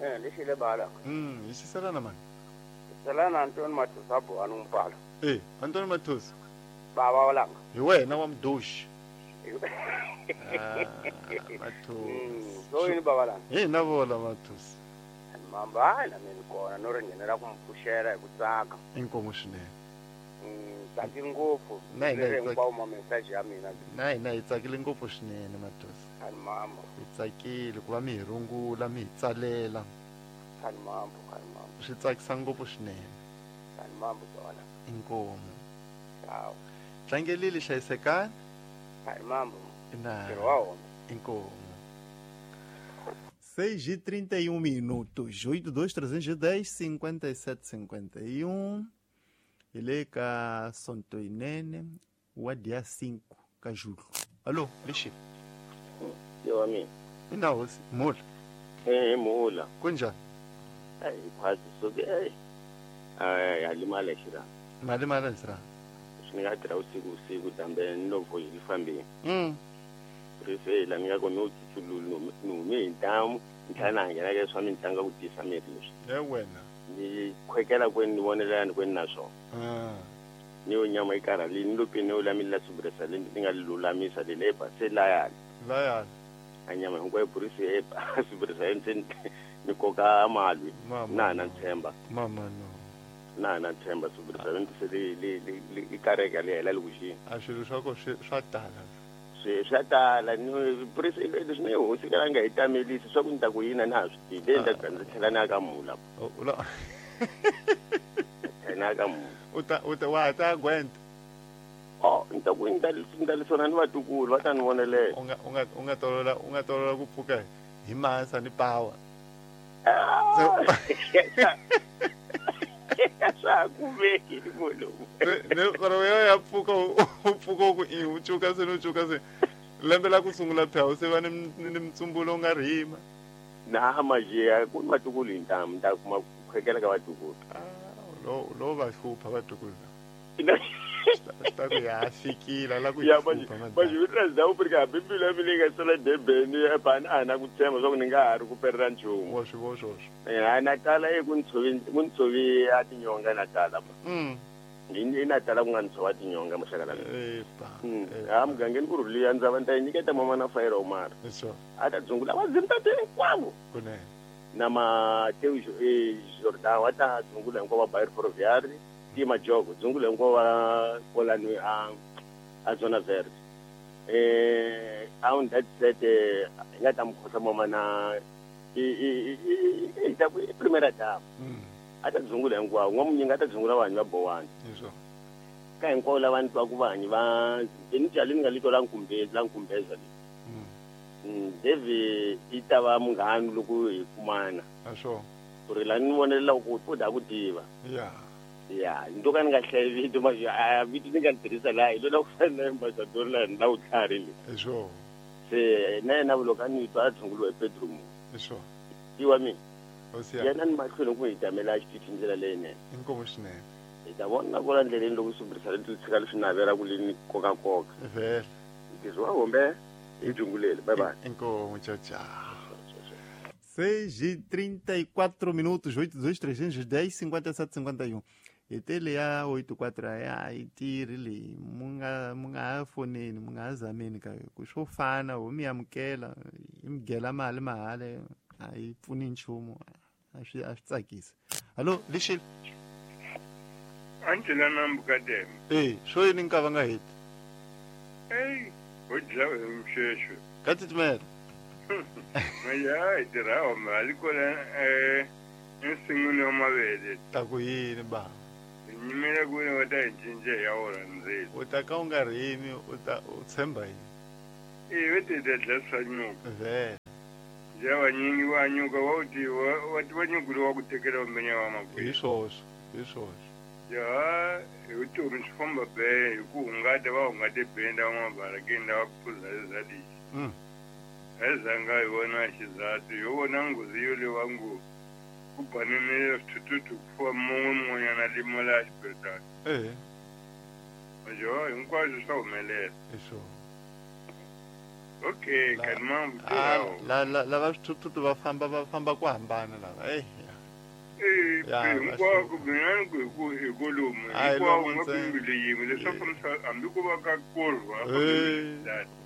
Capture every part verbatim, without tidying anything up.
Eh lexile bala. Mm, xisela na mani? Xisela na Antoni Mathusa Buhanu Mpala. Eh, Antoni Mathusa. Baba walanga. Hi wena wa mdoshi. Ah, Mathusa. So yini baba langa? Hi na vola Mathusa. Mamba na mina kona no ri nghenela ku mpfuxela hi ku tsaka. Inkomo swinene. Mm, tsaki ngopfu. Na hina hi hinkwawo ma message ya mina. Na hina hi tsakile ngopfu swinene Mathusa. Ani mambo. Hi tsakile ku va mi hi rungula mi hi tsalela. Ani mambo, ani mambo. Swi tsakisa ngopfu swinene. Ani mambo tona. Inkomo. Ciao. Tlangelile hlayisekani. Ani mambo. Na. Ntirho wa wona. Inkomo. seis e trinta e um minutos, oito dois trezentos e dez, cinquenta e sete cinquenta e um. Ele ka Sontoinene, o dia cinco ka julho. Alô, Lixi. Yo ami. Ina mula. Eh mula. Kunjani? Ai quase soke. Ai alimala xira. Malimala xira. Swi nga tirha usiku usiku dambe novo yi fambile. Mm. Rifela mi nga komi u tsutsulu no mi ntamu ntlhana nghena ka swa mitlangu ku tisa miri leswi. E wena. Ni khwekela kweni ni vonela ni kweni na swona. Ah. Ni yo nyama yi karhalini ni lo pini yo lamila subresa le ni nga lulamisa le le ba se layani. Layani. A nyama hinkwayo burisi e ba subresa ni ni koka malwi. Na na ntshemba. Mama no. Na na ntshemba subresa ni se le le le i kareka le hela lekuxini. A swilo swa ko swa tala. Swi tala ni burisi leswi ni hosi ka nga hi tamelisi swa ku ni ta ku yina na ha swi tivi le ni ta ndzi tlhela ni ya ka mula. U la tlhela ka mula. U ta u ta wa ta gwenta. Oh, ni ta ku ni ta ni ta lesona ni vatukulu va ta ni vonelela. U nga u nga u nga tolola u nga tolola ku pfuka hi masa ni power. Swa kumeki ni lowu. Ne koro yo ya pfuka u pfuka ku i u cuka se no cuka se lembe la ku sungula phela se va ni ni mtsumbulo nga rima. Na majiya ku vatukulu hi ntamu ta kuma ku khwekela ka vatukulu. Ah, lo lo va hlupha vatukulu. Ta ku ya fikile la ku ya hlupha. Manje u tla u prika biblia mi nga sala Durban e bana ana ku tshemba swa ku ni nga ha ri ku perela nchumu. Wa swi vo swoswo. Eh na tala e ku ntshovi ku ntshovi a tinyonga na tala. Mm. Ni na tala ku nga ntshova tinyonga maxaka la. Eh pa. Ha mugangeni ku rhuliya ndza va nta nyiketa mama na fayira Omar. Eso. A ta dzungula va zimtate hinkwavo. Kunene. Na Mateo eh Jordan wa ta dzungula hinkwavo va Bayer Ferroviari. Ti majogo dzungula hinkwavo va kolani a a zona verde. Eh a that set hi nga ta mukhosa mama na i i i ta ku primera dama. A ta dzungula hinkwavo n'wamunyinga a ta dzungula vanhu va Bowani. Eso. Ka hinkwavo lava ni twaku vanhu va ni jali ni nga lito la nkumbeza la nkumbeza le. Mm Devi i ta va munghana loko hi kumana. Asho. Ku ri la ni vonelela ku u da ku tiva. Yeah. Ya, ndo ka ni nga hlayi vito ma a vito ni nga tirhisa laha hi lola ku fana na ambassador la ni la u tlhari le. Esho. Se na yena loko a ni twa a dzunguliwa hi Pedro Mo. Esho. Iwa mina. Hosi ya. Yena ni mahlweni ku hi tamela xitichi ndlela leyinene. Inkomo swinene. Hi ta vona ku la ndleleni loko subrisa le tshika leswi navela ku le ni koka koka. Vele. Ntirho wa hombe hi dzungulele. Bye bye. Inkomo tchau tchau. seis e trinta e quatro minutos, oito dois trezentos e dez, cinquenta e sete cinquenta e um. Etele ya oito quatro ya itiri le munga munga foneni munga zameni ka ku swo fana ho mi amukela imgela mali mahale a yi pfuni nchumu a swi a swi tsakisi. Hallo Lixile. Angela Nambukadem. Eh, swo yini nka va nga heti? Hey, ho dlawa hi msheshu. Ka titimela. Maya i tirha mali kola eh ensin'wini wa mavele. Ta ku yini ba? Nyimela ku wa ta cinca ya wona ndzilo. U ta ka u nga rimi u ta u tshemba yini? Eh ve ti ta dla swa nyuka. Vele. Ja vanyingi va nyuka va u ti va ti va nyuka wa ku tekela umenya wa makwenu. Hi swoswo, hi swoswo. Ja, hi vutomi swi famba be hi ku hungata va hungate benda va mabarakeni lava ku phuza leswi. Mm. Azanga hi vona xizathu yo vona nghozi yo lewa ngo ku banene swithuthuthu ku fuwa mun'we mun'wanyana limala xibedhlele. Eh. Majo hinkwaswo swa humelela. Esho. Okay, kanimam la la lava swithuthuthu va famba va famba ku hambana lava eh eh hinkwako mina ku ku hi kolomu hinkwako nga pimbile yin'we leswaku hambi ku va ka korwa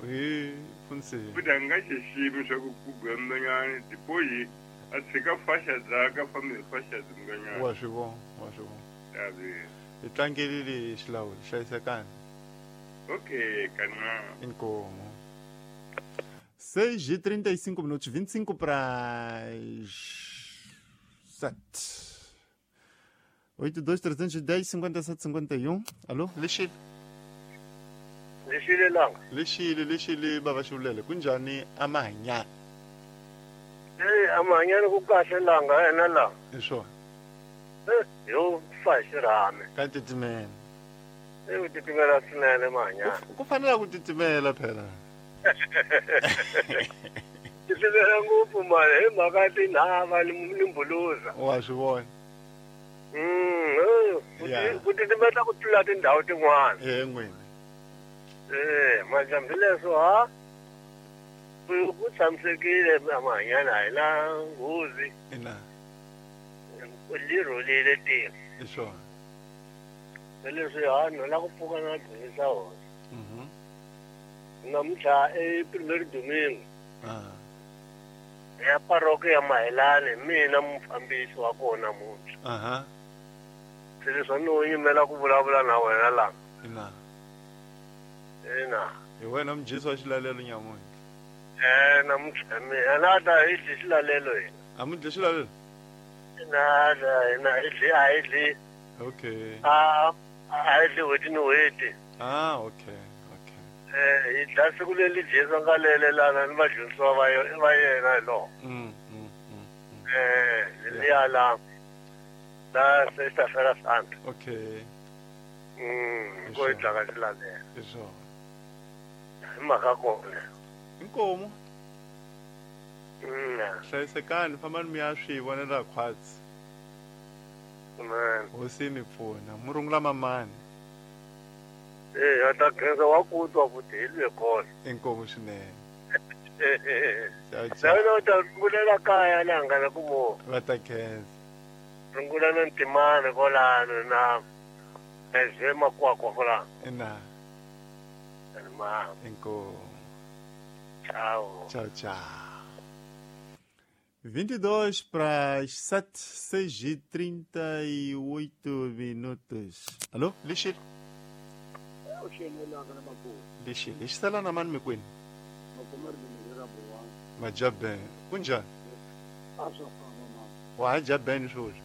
eh funse futhi a nga xiximi swa ku ku gambanyana dipoyi a tshika fasha dzaka fambe fasha dzinganyana wa swi vona wa swi vona hi tlangelile xilawuli hlayisekani okay kana inkomo seis e trinta e cinco minutos, vinte e cinco para sete. oito, dois, trezentos e dez, cinquenta e sete, cinquenta e um. Alô, Lixile. Lixile langa. Lixile, Lixile, baba Xulele. Kunjani amanyana? Eh, amanyana ku kahle langa ena la. Isho. Eh, yo fa xirhame. Ka titimela. Eh, u titimela swinene manyana. Ku fanele ku titimela phela. Titimela ngopfu mali hi mhaka tinhava ni mbuluza. Wa swi vona. Mm, ku titimela ku tlula tindhawu tin'wana. Eh, n'wini. Eh, majambi leswo ha ku tshamisekile amanyana hi la nghozi. Ina. Li rhulile tiko. Hi swona. Leswi ha no la ku pfuka na dzunisa hosi. Mhm. Namuntlha i primero domingo. Ah. Ya paroki ya Mahilani mina mufambisi wa kona namuntlha. Aha. Se leswi no yimela ku vulavula na wena la. Ina. Ina. Hi wena mujisi wa xilalelo nyamuntlha. Eh, namuntlha mina na ta hi dyi xilalelo hina. A mi dyi xilalelo? Ina, ina hi dyi a hi dyi. Okay. A a hi dyi n'hweti ni n'hweti. Ah, okay. Okay. Eh, hi dla siku leri Jesu a nga lelelana ni vadyondzisiwa va va yena hi loko. Mm, mm, mm. Eh, liya la la sexta-feira santa. Okay. Mm, ko hi dlaka xilalelo. Hi swona. Hi mhaka kona. Inkomo. Mm. Hlayisekani fambani mi ya swi vonela khwatsi. Amen. Hosi mi pfuna. Murungula mamani. Eh, ata khensa wa ku twa futhi hi lwe kona. Inkomo swinene. Ciao ciao. Ta rungulela kaya la nga na ku mo. Va ta khensa. Rungula na ntimani kolano na eze makwakwa kolano. Ina. Ma. Inkomo. Tchau. Tchau, tchau. vinte e dois para as sete, seis e trinta e oito minutos. Alô, Lixile? Lixile, xisala na mani mikwini? Majaben. Kunjani? Wa ha jabeni sweswi?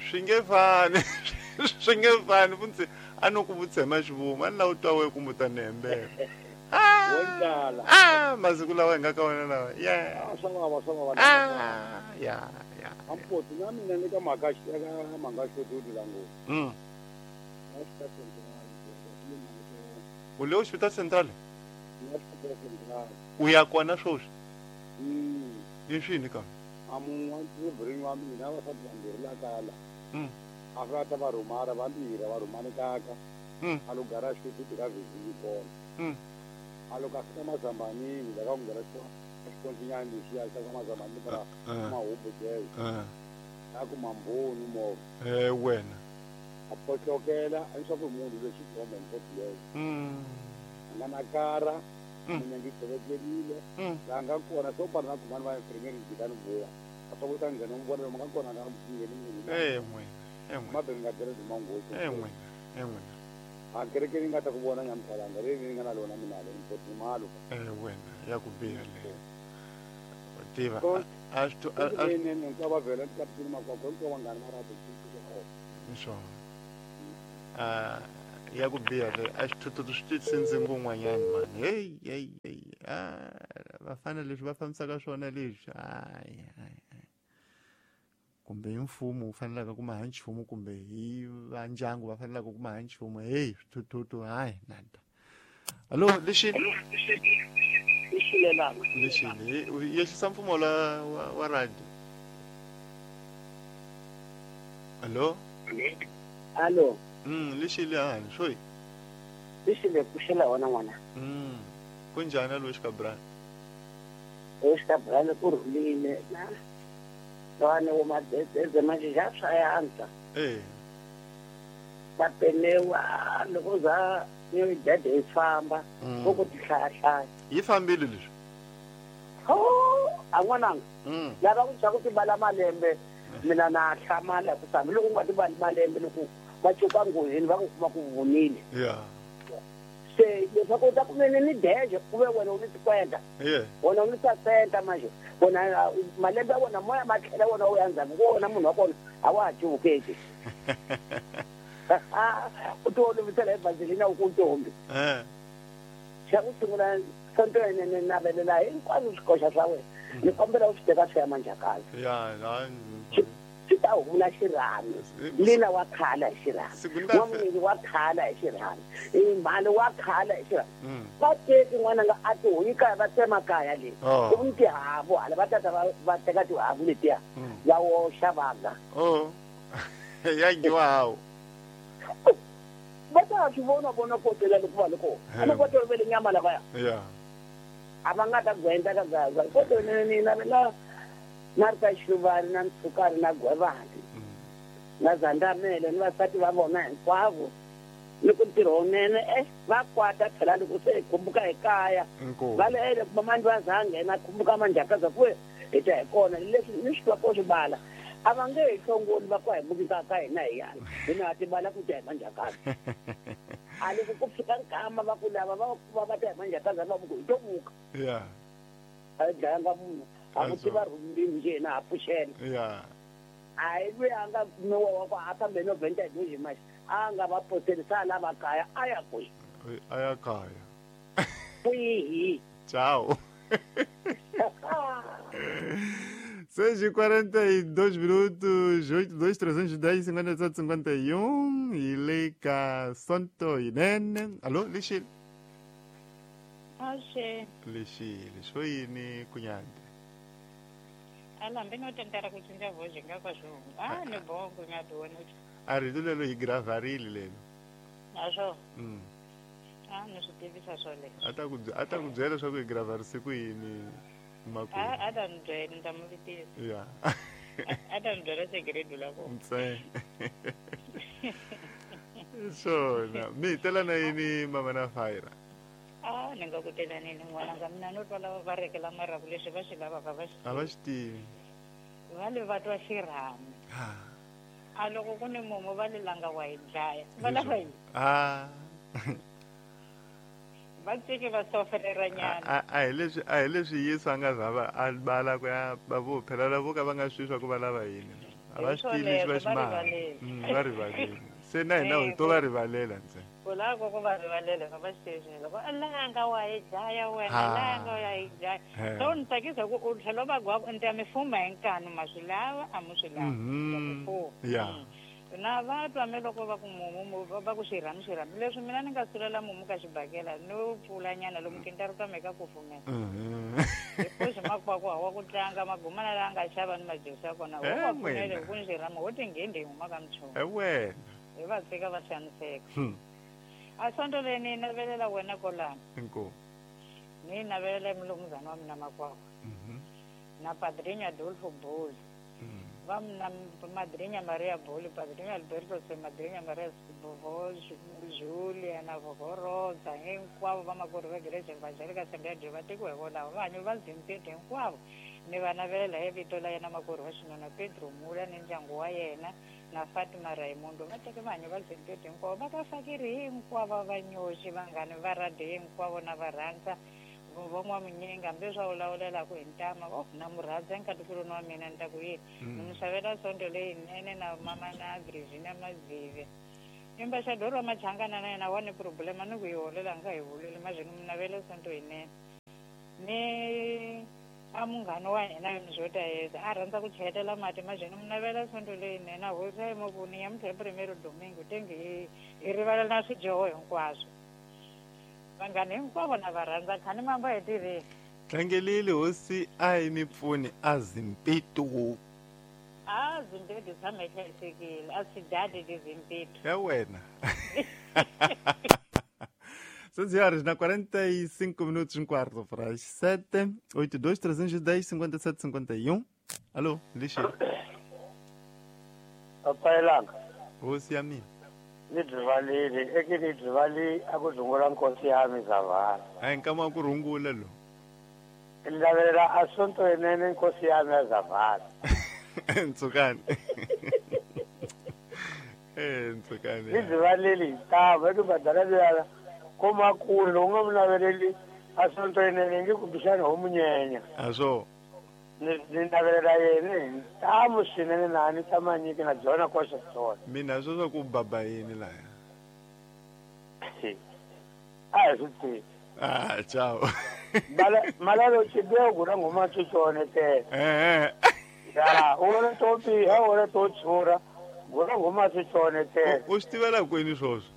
Swi nge fani. Swi nge fani funtsi a no ku vutshema xivuma a ni lava u twa we kumbe u ta ni hembela. Ah, masiku lawa hi nga ka wona lawa. Yeah. Swa vava swa vava. Ah, ya ya. Ampoti na mina ni ka mhaka ka mhaka xo la ngopfu. Mm. U le hospital central? U ya kona sweswi? Mm. I swini ka? A mun'we wa bring wa mina vasati vambirhi la kaya la. Mm. A va ta va rhumara vambirhi va rhumani kaka. Mm. A lo gara xitutu ka vhizini kona. Mm. A lo ka fika mazambanini la ka ku nghena xikontinyani lexiya xa ka mazambani para mahubu jele. A ku mamboni movha. Eh wena. A potlokela a ni swa ku munhu lexi khombe mpoti leyo. Mm. A nga na kara. Mina ngi tshovekerile. La nga kona swo pana na kumani va primary jikani vuya. A swa ku ta nghena n'wi vona lomu nga kona nga ngheni munhu. Eh n'wina. Eh n'wina. Mabeni nga byela manghozi. Eh n'wina. Eh n'wina. A kerekeni nga ta ku vona nyamphalanga leyi ni nga na lona mina le mpoti malo. Eh wena ya ku biha le. U tiva a swi a ni ni ni va vhela ka tini makwakwa ko va ngani mara ni swona. Ah ya ku biha le a xithuthuthu swi titsindzi ngun'wanyana mani. Hey hey hey. Ah vafana leswi va fambisaka swona leswi. Hayi hayi. Kumbe hi mfumo wu fanelaka ku ma ha nchumu kumbe hi va ndyangu va fanelaka ku ma ha nchumu. Hey swithuthuthu hayi nada. Allo Lixile. Lixile langa. Lixile yehlisa mpfumo la wa, wa radio. Allo. Allo. Mm Lixile hani swi. Lexile pfuxela wona n'wana. Mm. Kunjani lo xikabrani? Xikabrani ku rhulile na lwana wo madzedzedze manje xa swa yantswa. Eh. Va penewa loko za ni dede yi famba ku ku tihlayahlaya. Yi fambile leswi? Oh, a n'wananga. Mm. Lava ku xa ku tibala malembe mina na hlamala ku sambi loko u nga tibali malembe loko va cuka nghozini va ku kuma ku vunile. Yeah. Se leswaku u ta kumene ni deje ku ve wena u ni tikwenda. Yeah. Wena u ni sasenta manje. Wona malembe ya wona moya ma tlhela wona u ya ndzhaku ku wona munhu wa kona a wa ha cuvukeki. U ti olovisela hi vaselina u ku ntombi. Eh. Xa ku sungula sonto yinene navelela hinkwaswo swikoxa swa wena. Ni kombela u swi teka swi ya manjhakazi. Ya, la swi ta hula xirhami. Lina wa khala hi xirhami. N'wamunini wa khala hi xirhami. Mhani wa khala hi xirhami. Va teki n'wananga a ti huyi kaya va tsema kaya leyi. Ku ni tihavu hala va tata va teka tihavu letiya va woxa va ga. Oh. Ya ngiwa hawu. Va ta swi vona vona kotela loko va le kona. A va tolovele nyama lavaya. Yeah. A va nga ta gwenda ka gaza. Koto ni navela na ri ka Xiluvani na Ntshukani na Gwevani na Zandamele ni vasati va vona hinkwavo ni ku ntirho wunene eh va kwata phela loko se hi khumbuka hi kaya va le ele kuma mani va za nghena khumbuka manjhakaza ku hi ta hi kona leswi ni swi twa ko swi bala a va nge hi hlongoli va ku hi bukisa ka hina hi yana hina ha tibala ku ta hi manjhakaza a loko ku fika nkama va ku lava va va va ta hi manjhakaza va ku hi to muka yeah a hi dlayanga munhu a ku tiva rhumbini nje na ha pfuxela yeah a hi lweyi a nga kumiwa wa ku a fambe no vhenta hi doji maxi a nga va potelisa lava kaya a ya kwihi a ya kaya kwihi tchau. seis e quarenta e dois minutos, oito, dois, trezentos e dez, cinquenta e sete, cinquenta e um, e Leica Santo Inene. Alô, Lixile? Oxe. Lixile, xoyini kunyande. Ala mbe no tentara ku cinca voz nga kwa swo. Ah, ni bongo nga dona. A rito lelo hi gravarile lelo. Naswo. Mm. Ah, ni swi tivisa swoleswo. A ta ku a ta ku byela leswaku hi gravarise ku yini makumu. A a ta ni byela ni ta mu vitisa. Ya. A ta ni byela segredo la kona. Ntsena. Swona. Mi tela na yini mama na Fire? Ah, ni nga ku tela nini n'wananga mina no twa lava va rekela maraku leswi va swi lavaka va swi A va swi tivi. Va le va twa xirhami. A loko ku ni mumu va le langa wa hi dlaya. Va lava yini? Ah. Va tsiki va sofelera nyana. A a hi leswi a hi leswi Yesu a nga za va a bala ku ya va vo phela lavo ka va nga swi swa ku va lava yini. A va swi tivi leswi va swi maha. Va rivalele. Se na hina hi to va rivalela ntsena. Ku lava ku va rivalela va va swi tivi loko a langa wa hi dlaya wena langa wa hi dlaya. So ni tsakisa ku u tlhela va gwa ku ni ta mi fuma hi nkanu ma swi lava a mu swi lava. Ta mi fuma. Ya. Na va twa me loko va ku mumu va ku xirhami xirhami leswi mina ni nga sulela mumu ka xibakela no pfula nyana lomu kinta ri twa ka kufumela. Hikuva makwakwa wa ku tlanga magumana la nga xava ni majusi ya kona wo va pfunele ku ni xirhami wo tinghindi hi huma ka mchunu. E wena. Hi va tshika va xaniseka. A sonto leyi ni navelela wena kolana. Inkomu. Ni navelela mulumuzana wa mina makwakwa. Na padrinho Adolfo Boli. Va na madrinha Maria Boli, padrinho Alberto Se, madrinha Maria Bovol, Julia na Vovorosa, hinkwavo vamakwerhu va Igreja Evangélica Assembleia de Deus va tekiwa hi volavo va hanyi va Zimpete hinkwavo. Ni va navelela hi vito la yena makwerhu wa xinuna Pedro Mula ni ndyangu wa yena na Fatima Raimundo va teke vanhu va Zimpete hinkwavo va ka fakiri hinkwavo va nyoxi vanghani va radio hinkwavo na va rhandza van'wamunyinga hambi swa vulavulelaku hi ntama oh na mu rhandza nkatikulu wa mina ni ta ku yini ni mu xavela sonto leyinene na mama na Virginia Mazive embaxador wa Machangana na yena wa ni problema ni ku yi holela nga hi holeli mazvino mu navela sonto yinene ni a munghana wa hina swo ta yeza a rhandza ku cheletela mati mazvino mu navela sonto leyinene a horisa emovhuni ya muthe primero domingo tenge hi hi rivalela na swidyoho hinkwaswo vanghani hinkwavo na va rhandza khani mamba hi tirheni tlangelile hosi a yi mi pfuni a Zimpeto a Zimpeto tshama yi hlayisekile a sidadi ti Zimpeto ya wena. seis horas na quarenta e cinco minutos, um quarto para as sete, oito, dois, trezentos e dez, cinquenta e sete, cinquenta e um. Alô, Lixi. Papai Langa. Hosi ya mina. Ni byivalile, eke ni byivali a ku rhungula nkosi ya mi zavala. A hi nkama wa ku rhungula lo. Ni lavelela asonto yenene nkosi ya mi ya zavala. Ntsukani. Eh, ntsukani. Ni byivalile hi tava eke badala liya koma kule loko nga mu naveleli asonto yenene nge kumbexana ho munyenya. A swo. Ni ni navelela yena hi ntamu swinene na ni ta manyiki na byona koxa swona. Mina swo swa ku baba yini laya. A hi swi tivi. Ah, ciao. Mala malalo xidego na nghoma tswitsone tele. Eh. Ya, u vona to biha, u vona to tshura, gula nghoma tswitsone tele. U swi tivela kwini swoswo?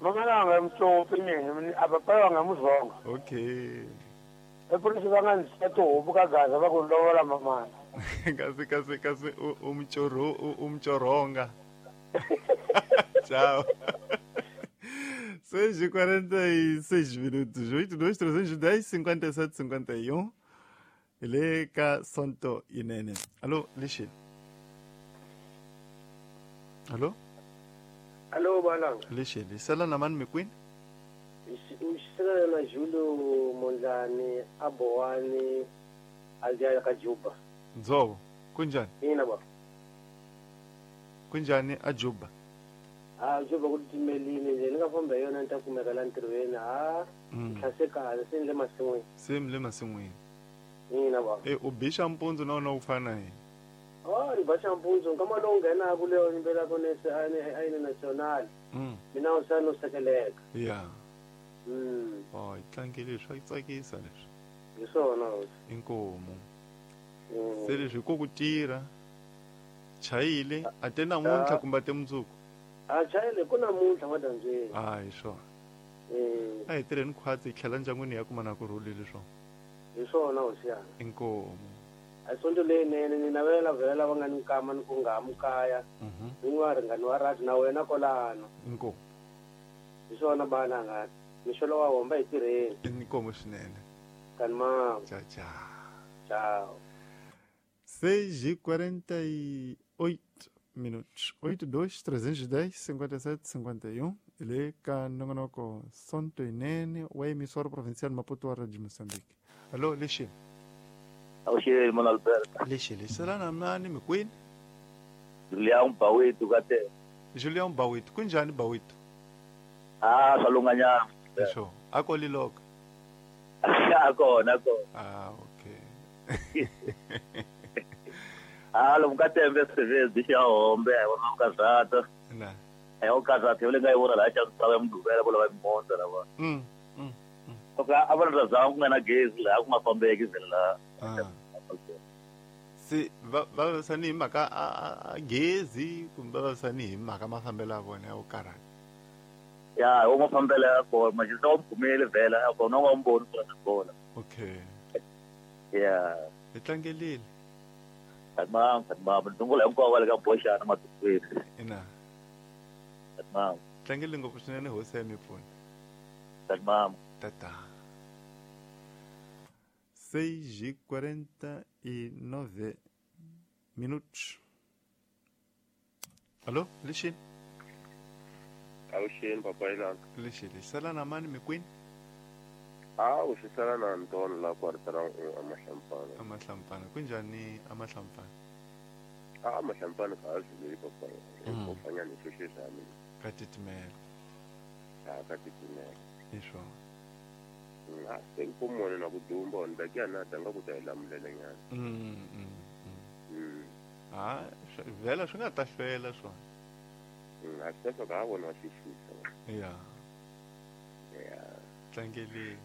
Mama nga mutsopi mina, a papa va nga muzonga. Okay. Epurisi va nga ndzi tihubu ka gaza va ku lovola mamana. Kasi kasi kasi u mchoro u mchoronga. Ciao. seis e quarenta e seis minutos, oito, dois, trezentos e dez, cinquenta e sete, cinquenta e um. Ele ka Sonto Inene. Alô, Lixi. Alô? Alô, Balanga. Lixi, lisela na mani mikwini? Uxisela na Júlio Mondlane, Aboane, Aldeia Kajuba. Nzovo, kunjani? Ina ba. Kunjani ajuba? Ah, Juba ku timelile nje ni nga famba hi yona ni ta kumeka la ntirhweni ha tlhase kahle se ni le masin'wini. Se mi le masin'wini. Ina ba. Eh, u bixa mpundzu na wona wu fana yini? Oh, ni ba mpundzu nkama lowu nghenaku leyo yimbelaka nese a yini national. Mina u sa no sekeleka. Yeah. Mm. Oh, yi tlangile swa yi tsakisa leswi. Hi swona hosi. Inkomu. Se leswi ko ku tirha chayile a te namuntlha kumbe a te mundzuku? A chayile ku namuntlha madyambyeni. Ah, hi swona. A hi tirheni khwatsi hi tlhela ndyangwini ya kuma na ku rhulile swona. Hi swona hosi yana. Inkomu. A sonto leyinene ni navela vhela lava nga ni nkama ni ku nga ha mukaya. Ni nga ringani wa rati na wena kolano. Inkomu. Hi swona bana nga. Mixolo wa homba hi tirheni. Inkomu swinene. Kanma. Tchau, tchau. Tchau. seis e quarenta e oito minutos. oito, dois, trezentos e dez, cinquenta e sete, cinquenta e um. Ele é nongonoko Sonto Inene, o emissora provincial Maputo de Moçambique. Alô, Lixi. Alô, irmão Alberto. Lixi, será na mani mikwini? Julião Bawito, kate. Julião Bawito, kunjani Bawito? Ah, salunganyana. Isho, akoliloka. Akona, akona. Ah, okay. Ah, lo mkatembe sevez bisha hombe, wona ukazata. Na. Eh, ukazata yole ngayibona la cha msawe mdubela bola bayimonda laba. Mm. Mm. Oka abantu zangu kungena gezi la kungafambeki izela la. Ah. Si va va sani mhaka a gezi kumbe va sani hi mhaka mafambelo ya vona ya ukarata. Ya, o mafambelo ya kona manje se umphumele vela ya kona ungamboni kona bola. Okay. Yeah. Hi tlangelile. Tamam, tamam. Ndungula hinkwavo va le ka boxana matikweni. Ina. Tamam. Tlangele ngopfu swinene hosi ya mipfuna. Tamam. Tata. seis e quarenta e nove minutos. Alô, Lixi? Avuxeni papai Langa. Lixi, sala na mani mikwini? Ah, u swi sala na Anton la kwartara amahlampana. Amahlampana. Kunjani amahlampana? Ah, amahlampana ka azuleli papai. Ko fanyana ni sweswi swa mina. Ka titimela. Ah, ka titimela. Hi swona. Ah, se ku mona na ku dumba ni ta na tanga ku ta hi lamulela nyana. Mm. Mm. Ah, vela swi nga ta hlwela swona. Mm, a swi ta ka vona xixisa. Yeah. Yeah. Tlangele.